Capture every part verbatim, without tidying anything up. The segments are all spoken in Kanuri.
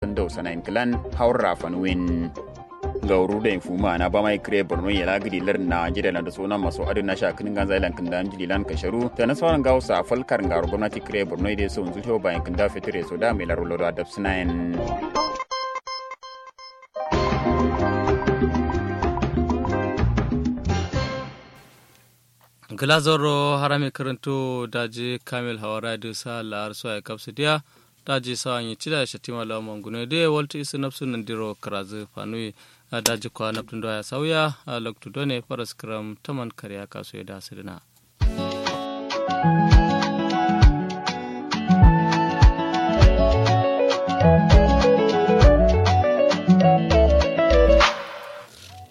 Ndau sanayin klan haurra fanuwin. Ngauru da infuma na bamai kre borno yela gidi lar najeriya lan da sona maso adin nasha kinin ganza ilan kinda njili lan kasharu ta nasfaran gausa falkar ngaro gwamnati kre borno ide so nzu teo bayan kinda fitire so da mai laro laro adab sinayin. Gla zoro harami kirintu daji kamil hawara du sa la'ar so ai kapsu diya. Daji sawa nyi cida shatima lawa mangune de waltu isu nafsu nandiro karazu fanui. Daji kwa naftu ndo ya sauya loktu done faras kiram taman kariya kasu ya da sidina.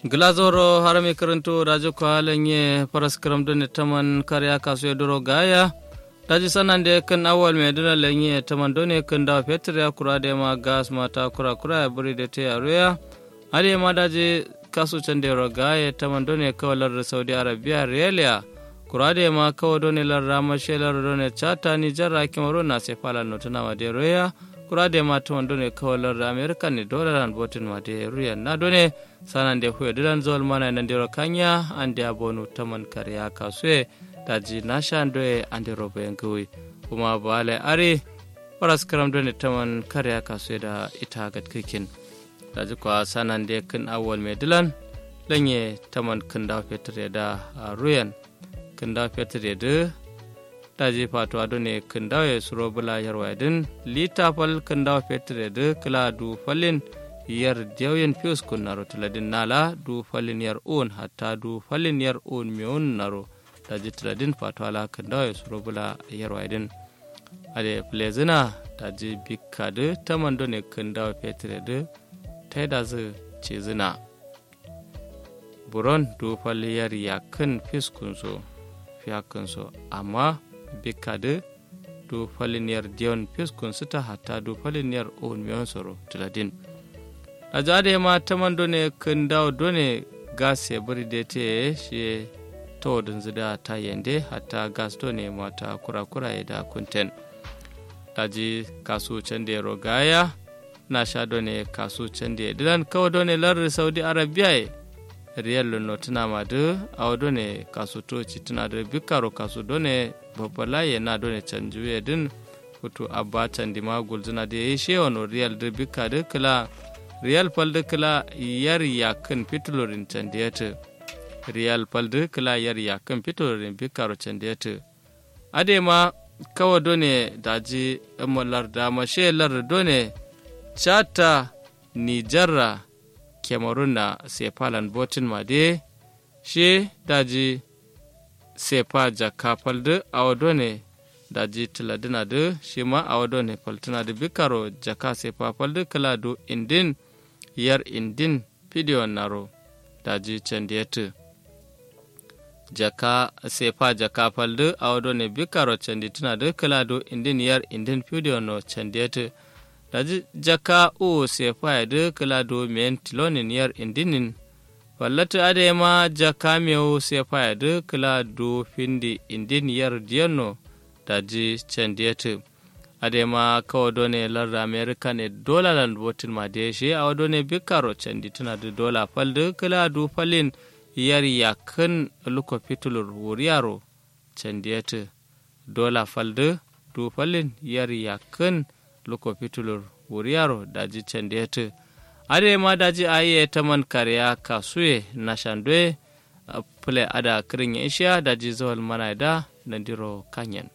Gla zoro harami kirintu daji kwa lanye faras kiram done taman kariya kasu ya duro gaya. Daji sanande kǝn awal me dǝna lenye tǝman done kǝn dawo fetur ya kura de ma gas ma ta kura kura ya buri de te ya ruya. Ade ma daji kasu cande ro gaye tǝman done kawo lardǝ saudi arabia riyal ya. Kura de ma kawo done lardǝ amashe lardǝ done chata nijar ra kimaro na se fala notuna ma de ruya. Kura de ma tǝman done kawo lardǝ amerika ne dolaran botin ma de ruya na done. Sanande huye dǝlan zol mana nandiro kanya ande abonu tǝman kariya kasuye. Daji nasha ndoye andero bayan gǝwi. Kuma bale ari faras kǝram done tǝman kariya kasuye da ita gat kǝkin. Daji kwa sanande kǝn awal me dǝlan lanye tǝman kǝn dawo fetur ye da ruyen. Kǝn dawo fetur ye dǝ daji fatuwa done kǝn dawo ye suro bǝla yarwa ye dǝn lita fal kǝn dawo fetur ye dǝ kǝla du falin yar diyau yen fius kun naro tǝladin nala du falin yar un hatta du falin yar un mewun naro. Daji tǝladin fatuwa la kǝn dawo ye suro bǝla yarwa ye dǝn ade flezina. Daji bikka dǝ tǝman done kǝn dawo fetur ye dǝ taidazǝ cizǝna. Buron du fal yar yakkǝn fiskun so fiyakkǝn so amma bikka dǝ du falin yar diyon fiskun sǝta hatta du falin yar un miyon soro tǝladin. Daji adai ma tǝman done kǝn dawo done gas ye bǝri de te ye shiye. Towodǝnzǝ da ta yende hatta gas done mata kura kura ye da kunten. Daji kasu cande ro gaya. Nasha done kasu cande dǝlan kawo done lardǝ saudi arabia ye. Riyal lo notǝna ma dǝ awo done kasu to citǝna dǝ bikkaro kasu done babba laye na done canjuye dǝn. Futu abba candi ma gulzǝna dǝ yayi shewano riyal dǝ bikka dǝ kǝla riyal fal dǝ kǝla yar yakkǝn fitulurin candi yatǝ. Riyal fal dǝ kǝla yar yakkǝn fitulurin bikkaro candi yatǝ. Adai ma kawo done daji lardǝ amashe lardǝ done chata nijar ra kemarun na sefa lan botin ma de. Shi daji sefa jakka fal dǝ awo done daji tǝladǝna dǝ shima awo done faltǝna dǝ bikkaro jakka sefa fal dǝ kǝla du indin yar indin fidiyon naro. Daji candi yatǝ jakka sefa jakka fal dǝ awo done bikkaro candi tǝna dǝ kǝla du indin yar indin fidiyon no candi yatǝ. Daji jakka uwu sefa ye dǝ kǝla du meyin tilonin yar indinin. Fallatǝ adai ma jakka mewu sefa ye dǝ kǝla du findi indin yar diyon no. Daji candi yatǝ. Adai ma kawo done lardǝ amerika ne dola lan botin ma de shi awo done bikkaro candi tǝna dǝ dola fal dǝ kǝla du falin yar yakkǝn luko fitulur wuriyaro candi yatǝ. Dola fal dǝ du falin yar yakkǝn luko fitulur wuriyaro daji candi yatǝ. Adai ma daji ayi ye tǝman kariya kasuye nasha ndoye. Fǝle ada kǝrin ye ishiya daji zawal mana ye da nandiro kanyen.